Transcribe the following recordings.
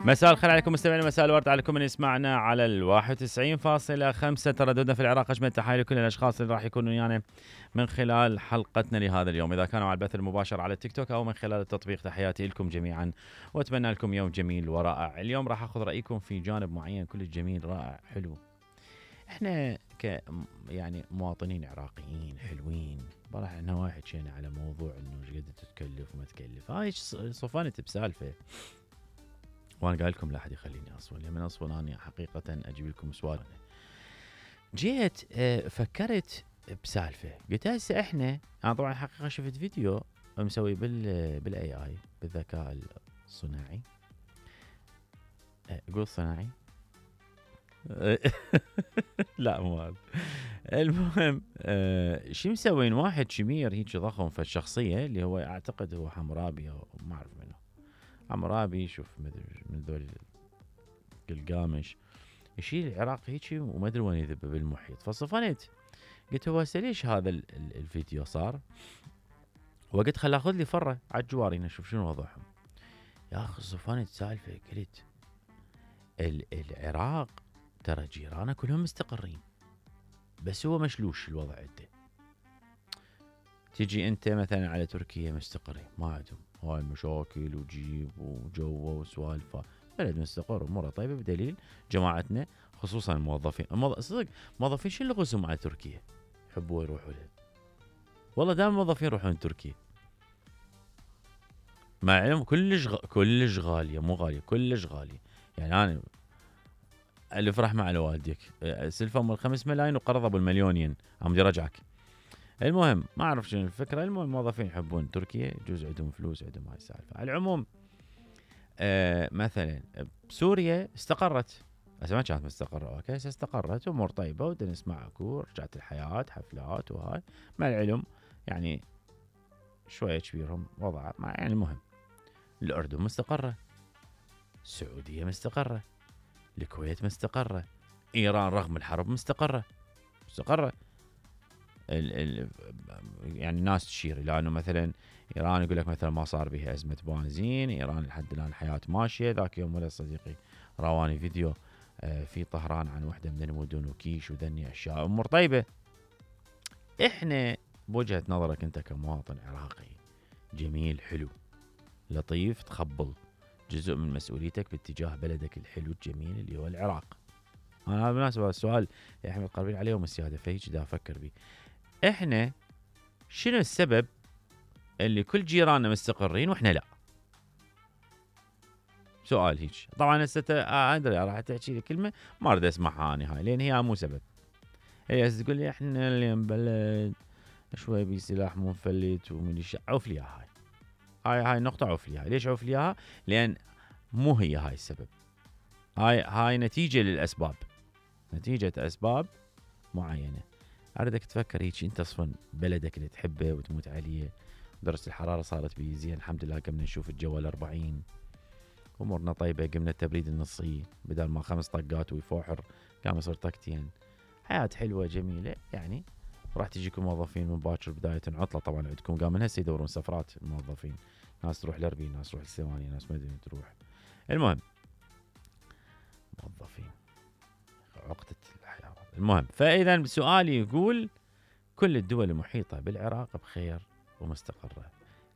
مساء الخير عليكم مستمعينا، مساء الورد عليكم من يسمعنا على 91.5 ترددنا في العراق. اجمل تحايا لكل الاشخاص اللي راح يكونوا ويانا من خلال حلقتنا لهذا اليوم، اذا كانوا على البث المباشر على التيك توك او من خلال التطبيق. تحياتي لكم جميعا واتمنى لكم يوم جميل ورائع. اليوم راح اخذ رايكم في جانب معين كل جميل رائع حلو. احنا يعني مواطنين عراقيين حلوين، راح احنا واحد شينا على موضوع انه ايش قد تتكلف وما تكلف. هاي صفنت بسالفه، وانا قايل لكم لا احد يخليني اصول، من اصول انا حقيقه اجيب لكم سؤال. جيت فكرت بسالفه، قلت هسه احنا، انا طبعا حقيقه شفت فيديو مسوي بالاي اي، بالذكاء الصناعي. قول صناعي لا مو هذا. المهم شو مسوين واحد شمير هيك ضخم في الشخصيه اللي هو اعتقد هو حمرابي او ما اعرف منه. حمرابي شوف من ذول قلقامش يشيل العراق هيك وما ادري وين يذب بالمحيط. فصفنت قلت هو هسه ليش هذا الفيديو صار؟ وقلت خل اخذ لي فره على الجوارين اشوف شنو وضعهم. يا اخي صفنت سالفه، قلت العراق ترى جيرانه كلهم مستقرين، بس هو مشلوش الوضع عنده. تجي انت مثلا على تركيا مستقرين، ما عندهم هاي المشاكل وجيب وجوه وسوالفه، بلد مستقر اموره طيبه، بدليل جماعتنا خصوصا الموظفين. صدق موظفين شو اللي غزهم على تركيا؟ يحبوا يروحوا له، والله دائما الموظفين يروحون تركيا مع علم كلش غاليه، مو غاليه كلش غاليه. يعني انا الف رحمه على والديك، سلفهم ال5 ملايين وقرض ابو المليونين عم يرجعك. المهم ما اعرف شنو الفكره. المهم الموظفين يحبون تركيا، يجوز عندهم فلوس، عندهم هاي السالفه. على العموم مثلا بسوريا استقرت، هسه ما كانت مستقره، اوكي هسه استقرت امور طيبه ودنا نسمع اكو رجعت الحياه حفلات وهاي. مع العلم يعني شويه كبيرهم وضع يعني المهم الاردن مستقره، السعوديه مستقره، الكويت مستقره، ايران رغم الحرب مستقره. يعني ناس تشير الى انه مثلا ايران يقول لك مثلا ما صار بها ازمه بنزين، ايران لحد الان الحياه ماشيه. ذاك يوم ولد صديقي رواني فيديو في طهران عن وحده من المدن وكيش وذني اشياء امور طيبه. احنا بوجهه نظرك انت كمواطن عراقي جميل حلو لطيف، تخبل جزء من مسؤوليتك باتجاه بلدك الحلو الجميل اللي هو العراق. انا بالمناسبه السؤال يا احمد قربين عليهم السياده، فهيك دا افكر بيه. احنا شنو السبب اللي كل جيراننا مستقرين واحنا لا؟ سؤال هيك. طبعا هسه ادري راح تحكي لي كلمه ما اريد اسمعها انا هاي، لان هي مو سبب. هي هسه تقول لي احنا اللي بلد شوي بسلاح منفلت وميليشيا، عوف لي هاي نقطه، عوف لي. ليش عوف لي؟ لان مو هي هاي السبب. هاي نتيجه للاسباب، نتيجه اسباب معينه. اردك تفكر هيك، انت اصلا بلدك اللي تحبه وتموت عليه، درجه الحراره صارت بيه زين الحمد لله، قمنا نشوف الجو ال40، امورنا طيبه، قمنا التبريد النصي بدل ما 5 طقات ويفوحر قام يصير طقتين. حياه حلوه جميله يعني. راح تجيكم موظفين من باكر بدايه عطله، طبعا عندكم قام من هسه يدورون سفرات الموظفين، ناس تروح الاربيل، ناس تروح الثواني، ناس ما ادري تروح. المهم موظفين عقده الحياه. المهم فاذا سؤالي يقول كل الدول المحيطه بالعراق بخير ومستقره،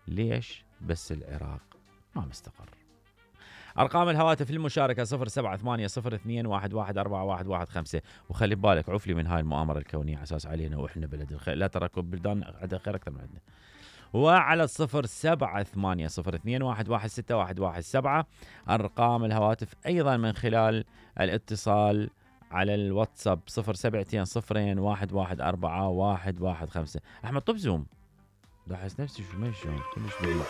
ليش بس العراق ما مستقر؟ أرقام الهواتف للمشاركة 0780211415. وخلي بالك عفلي من هاي المؤامرة الكونية على أساس علينا وإحنا بلد الخير، لا ترى بلدان عندها خير أكثر من عندنا. وعلى 078021161117 أرقام الهواتف أيضا من خلال الاتصال على الواتساب 0720211415. أحمد طب زوم، لاحظ نفسي شو ماشي كلش بعيد.